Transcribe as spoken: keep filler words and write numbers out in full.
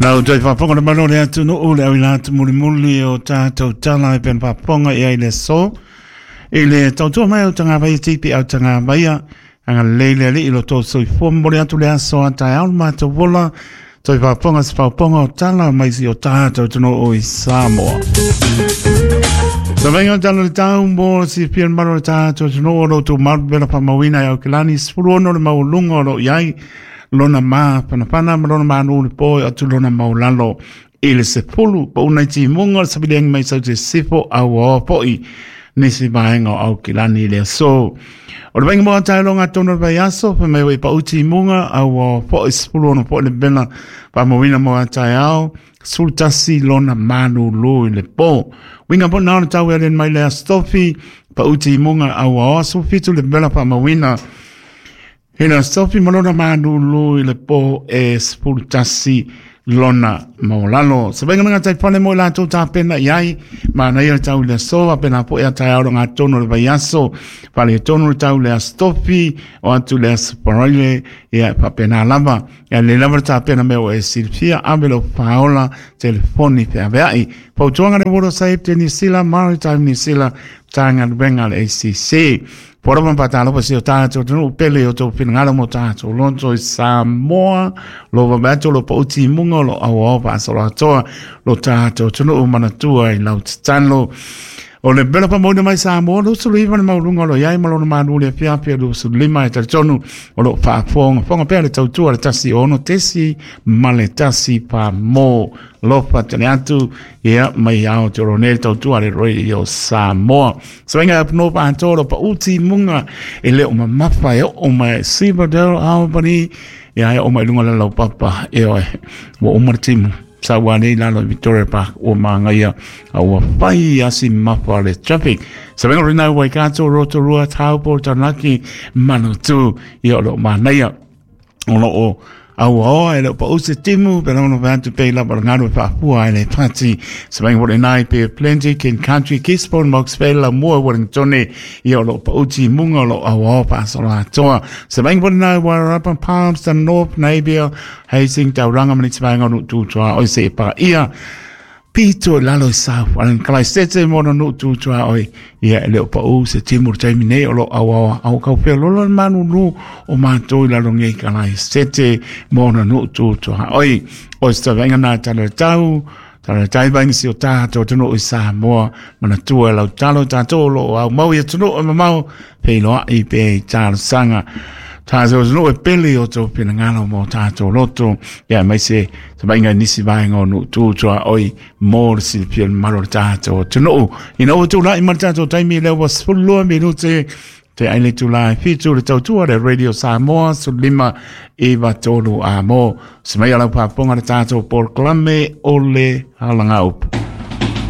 Lau toi faafofoga le malo le atunuu le auila atu mulimuli o tatou tala e pena faafofoga i ai le aso. I le tautua mai au tagavaia tipi au tagavaia, agalelei le Alii lo tou soifua momoli atu le aso a taeao le matou ola, toi faafofoga se faafofoga o tala mai si o tatou atunuu i Samoa. Savaiga o tala le tau mo le silafia le malo le tatou atunuu o lo outou malu vela faamauina i Aukilani, sefulu ono le maualuga o lo o i ai lona mafanafana ma lona manu le po e atu lona maulalo i le sefulu pauna i timuga o le saviliagi mai sau te sifo auaoa foi nisi vaega o Aukilani i le aso. O le vaiga mo taeloga tonu o le vaiaso, fai mai ua pau timuga auaoa foi sefulu ono foi le vela faamauina mo taeao, sefulu tasi lona malulu i le po. Winga po nao le tau e alien mai le astofi, pau timuga auaoa sefulu fitu le vela faamauina. Ina sofi malona manulu i le po e sefulu tasi lona maulalo. Se vainga nga taifale mo i latou tapena i ai, manaia le tau i le aso, apena po e taeao le ngatono le vaiaso, fale tonu le tau le astofi, o atu le aso paraile, ia faapena lava. Ia le lava le tapena mea o e silafia, ave lo paola, telefoni feaveai. Fautuaga le Water Safety New Zealand, Maritime New Zealand, Matagaluega le A C C. Pora patalo pa si o tātou tunu pele o tō finangalo mo tātou loto i Samoa lo vabato lo pauti munga lo au pa solo lo tātou tunu manatua i lau tatalo. O le bela pa mauna mai Samoa lo sulu iwa le maulunga lo iai malona manu le fiapia lo sulu lima e talitonu o lo faafonga fonga pea le tautua le tasi ono tesi ma le tasi pa mo lofa tele atu ia mai ao te oro nei tautua le Radio Samoa. Sawainga apuno pa antoro pa uti munga e leo mamafa e o mai Silverdale Albany ia e o mai lunga le lau papa e oe wa umar timu. Sa ua nei lalo i Victoria Park o Mangaia a ua whai asi mapa le traffic. Sa venga rina Waikato, Rotorua, Taupo, Taranaki, Manutu i o lo manaia. O lo o aua e leo pa use timu, pe launa vatu pe lapa ngaru e whaapua e le pati. Sa venga wale nai pe Plenty, King Country, Gisborne, Moxvale, la mua Wellingtone i o lo pa uti munga o lo aua o paasolo atoa. Sa venga wale nai Wairarapa, Palmerston, North, Napier, Hastings, Tauranga, maniti vaenga o tutua oi se e pa ia. Pito lalo i South Island, Kalaisete mona no tutua oi. Ia e leo pa u se timu taimi nei o lo aua au kau pea lolo le manu nu o mātou i lalo ngei Kalaisete mona no tutua oi. O se tavenga nā tala tau, tala tai vainga si o tātou tunu i Samoa, manatua lau talo tātou lo au mau ia tunu o mamau, peiloa i pe i talosanga. Tātou no e pele o tō pinangalo mō tātou loto, ia mai se se vainga nisi vaenga o nu tūtua oi mō le silapia malo le tātou tunuu. Ina o tū lai ma le tātou taimi leo wa sefulu lua minute te aile tū lai fitu le tautua le Radio Samoa sefulu lima iwa tolu a mō. Se mai alau pāponga le tātou polokalame o le halanga upu.